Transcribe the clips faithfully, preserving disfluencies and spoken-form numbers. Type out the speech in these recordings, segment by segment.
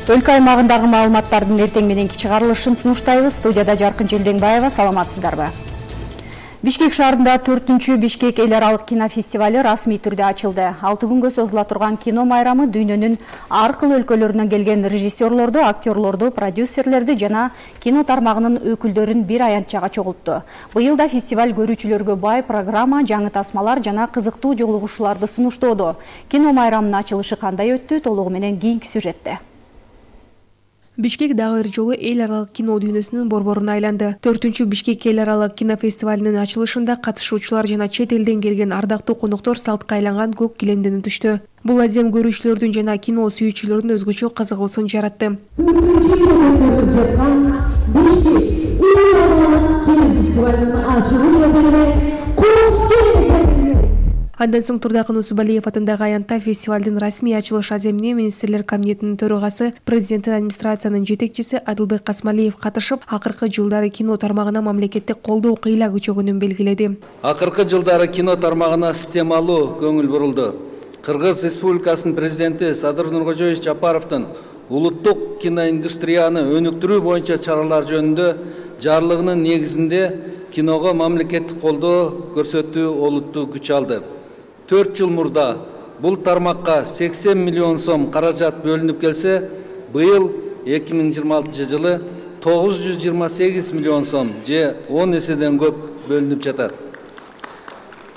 Өлкө аймагындагы маалыматтардын эртең мененки чыгарылышын сунуштайбыз. Студияда Жаркын Желдеңбаева, саламатсыздарбы? Бишкек шаарында төртүнчү Бишкек эл аралык кинофестиваль расмий түрдө ачылды. алты күнгө созула турган кино майрамы дүйнөнүн ар кыл өлкөлөрүнөн келген режиссерлорду, актерлорду, продюсерлерди жана кино тармагынын өкүлдөрүн бир аянтчага чогултту. Быйыл да фестиваль көрүүчүлөргө бай программа, жаңы тасмалар жана кызыктуу жолугушууларды сунуштоодо. Кино майрамынын ачылышы кандай өттү? Толугу менен кийинки сюжетте. Бишкек дагы бир жолу эл аралык кино дүйнөсүнүн борборуна айланды. төртүнчү Бишкек эл аралык кинофестивалынын ачылышында катышуучулар жана чет элден келген ардактуу коноктор салтка айланган көк килемден өтүштү. Бул азем көрүүчүлөрдүн жана кино сүйүүчүлөрдүн өзгөчө кызыгуусун жаратты. Андан соң Турдакын Усубалиев атындагы аянтта фестивалдын расмий ачылыш аземине министрлер кабинетинин төрагасы, президенттин администрациянын жетекчиси Адылбек Касмалиев катышып, акыркы жылдары кино тармагына мамлекеттик колдоо кыйла күчөгөнүн белгиледи. Акыркы жылдары кино тармагына системалуу көңүл бурулду. Кыргыз Республикасынын президенти Садыр Нуркожоевич Жапаровдун улуттук киноиндустрияны өнүктүрүү боюнча чаралар жөнүндө жарлыгынын негизинде киного мамлекеттик колдоо көрсөтүү олуттуу күч алды. төрт жыл мурда бул тармакка сексен миллион сом каражат бөлүнүп келсе, быйыл эки миң жыйырма алтынчы жылы тогуз жүз жыйырма сегиз миллион сом же он эседен көп бөлүнүп жатат.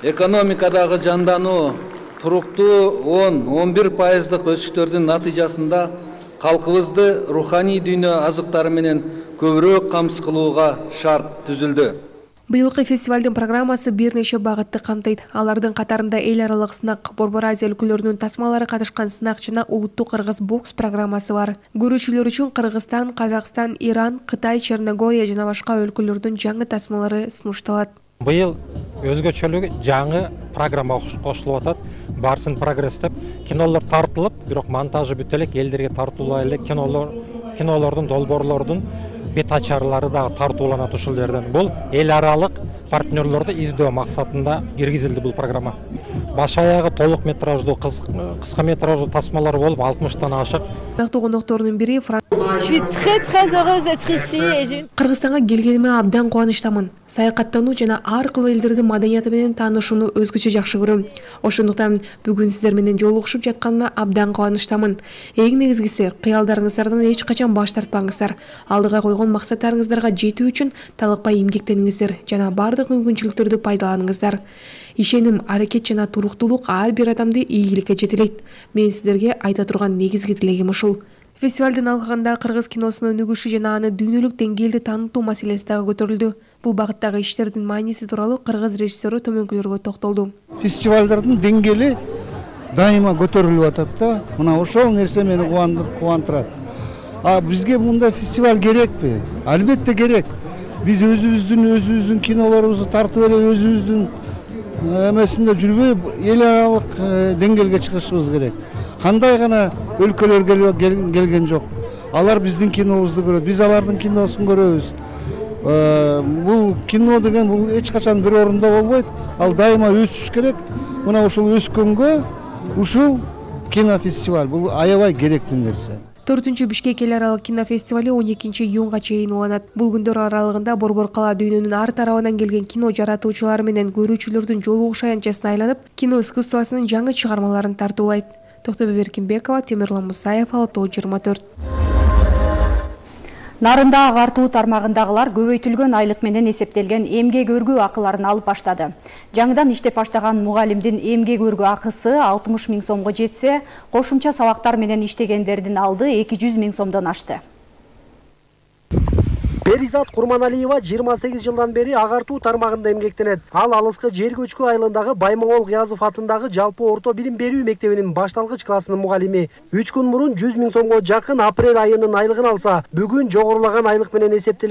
Экономикадагы жандануу туруктуу он он бир пайыздык өсүштөрдүн натыйжасында калкыбызды руханий дүйнө азыктары менен көбүрөөк камсыз кылууга шарт түзүлдү. Быйылкы фестивалдын программасы бир нече багытты камтыйт. Алардын катарында эл аралык сынак, Борбор Азия өлкөлөрүнүн тасмалары катышкан сынак жана улуттук кыргыз бокс программасы бар. Көрүүчүлөр үчүн Кыргызстан, Казакстан, Иран, Кытай, Черногория жана башка өлкөлөрдүн жаңы тасмалары сунушталат. Быйыл өзгөчөлүгү жаңы программа кошулуп атат. Барсын прогресс деп кинолор тартылып, бирок монтажы бүтө элек, элдерге тартуулай элек кинолор, кинолордун, долбоорлордун бет ачарлары да тартууланат ушул жерден. Бул эл аралык партнерлорду издөө максатында киргизилди бул программа. Баш аягы толук метраждуу, кыска метраждуу тасмалар болуп алтымыштан ашык. Ардактуу кондоктордун бири Кыргызстанга келгениме абдан кубанычтамын. Саякаттануу жана ар кыл элдердин маданияты менен таанышууну өзгөчө жакшы көрөм. Ошондуктан бүгүн сиздер менен жолугушуп жатканыма абдан кубанычтамын. Эң негизгиси, кыялдарыңыздардан эч качан баш тартпаңыздар. Алдыга койгон максаттарыңыздарга жетүү үчүн талыкпай эмгектениңиздер жана бардык мүмкүнчүлүктөрдү пайдаланыңыздар. Ишеним, аракет жана туруктуулук ар бир адамды ийгиликке жетелейт. Мен сиздерге айта турган негизги тилегим ушул. Фестивалдын алкагында кыргыз киносунун өнүгүшү жана аны дүйнөлүк деңгээлде таанытуу маселеси дагы көтөрүлдү. Бул багыттагы иштердин мааниси тууралуу кыргыз режиссеру төмөнкүлөргө токтолду. Фестивалдардын деңгээли дайыма көтөрүлүп атат да. Мына ошол нерсе мени кубандырат. А бизге мындай фестиваль керекпи? Албетте керек. Биз өзүбүздүн өзүбүздүн кинолорубузду тартып эле өзүбүздүн эмесинде жүрбөй эл аралык деңгээлге чыгышыбыз керек. Кандай гана өлкөлөр келген жок. Алар биздин кинобузду көрөт, биз алардын киносун көрөбүз. Бул кино деген бул эч качан бир орунда болбойт. Ал дайыма өсүш керек. Мына ушул өскөнгө ушул кинофестиваль бул аябай керектүү нерсе. төртүнчү Бишкек эл аралык кинофестивали он экинчи июнга чейин уланат. Бул күндөр аралыгында борбор кала дүйнөнүн ар тарабынан келген кино жаратуучулары менен көрүүчүлөрдүн жолугуш аянтчасына айланып, кино искусствосунун жаңы чыгармаларын тартуулайт. Токтобек Эркинбекова, Темирлан Мусаев, Алтоо жыйырма төрт. Нарында агартуу тармагындагылар көбөйтүлгөн айлык менен эсептелген эмгек өргүү акыларын алып баштады. Жаңыдан иштеп баштаган мугалимдин эмгек өргүү акысы алтымыш миң сомго жетсе, кошумча сабактар менен иштегендердин алды эки жүз миң сомдон ашты. Перизат Курманалиева жыйырма сегиз жылдан бери агартуу тармагында эмгектенет. Ал алыскы жер көчкү айылындагы Баймоңол Кыязов атындагы жалпы орто билим берүү мектебинин башталгыч классынын мугалими. үч күн мурун жүз миң сомго жакын апрель айынын айлыгын алса, бүгүн жогорулаган айлык менен эсептелген